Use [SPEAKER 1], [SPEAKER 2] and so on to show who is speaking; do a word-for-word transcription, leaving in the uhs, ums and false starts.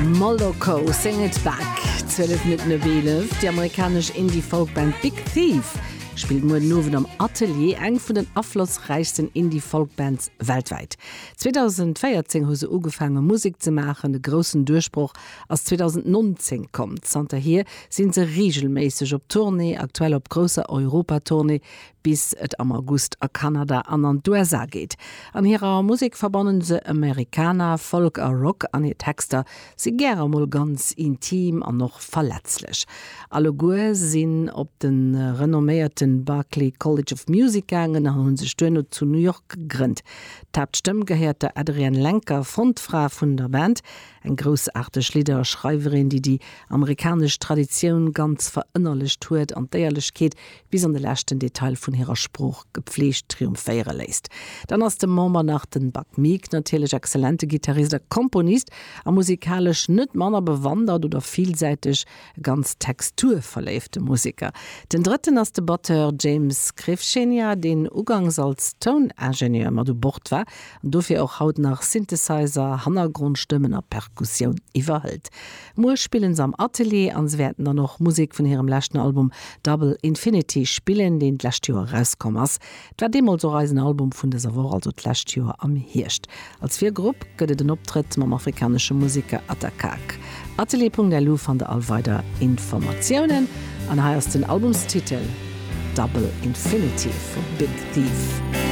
[SPEAKER 1] Moloko, Sing It Back, zwielef Minutten op eelef. Déi amerikanesch Indie-Folk-Band Big Thief spillt muer den Owend am Atelier, eng vun den aflossräichsten Indie-Folk-Bands weltwäit. zweedausendvéierzéng hu se ugefaange Musek ze maachen, de groussen Duerchbroch ass zweedausendnonzéng komm. Zanterhier si se reegelméisseg op Tournée, aktuell op grousser Europatournée, bis et am August a Kanada an an d'U S A geet. An hirer Musek verbannen se Americana, Folk a Rock an hir Texter si gäre mol ganz intim an och verletzlech. Alleguer sinn op de renomméierte Berklee College of Music gaangen an hunn sech duerno zu New York gegrënnt. D'Haaptstëmm gehéiert der Adrianne Lenker, Frontfra vun der Band, eng groussaarteg Lidderschreiwerin, déi déi amerikanesch Traditioun ganz verënnerlecht huet an d'Éierlechkeet bis an de leschten Detail vun hirer Sprooch gepflegt triumphéiere léisst. Dann ass de Member nach den Buck Meek, natierlech exzellente Gittarist a Komponist a musikalesch net manner bewandert oder villsäiteg, e ganz texturverléifte Museker. Den drëtten ass de Batteur James Krivchenia, deen ugangs als Touningenieur mat u Bord war an dofir och haut nach Synthesizer, Hannergrondstëmmen a Perkussioun iwwerhëlt. Muer spillen se am Atelier an se wäerten dann och Musek vun hirem leschten Album Double Infinity spillen, deen d'lescht Joer erauskomm ass. Et war deemools och eisen Album vun dëser Woch, also d'lescht Joer am Hierscht. Als Virgrupp gëtt et en Optrëtt mam afrikanesche Museker Ata Kak. Atelier Punkt L U fannt der all weider Informatiounen an hei ass den Albumstitel Double Infinity vu Big Thief.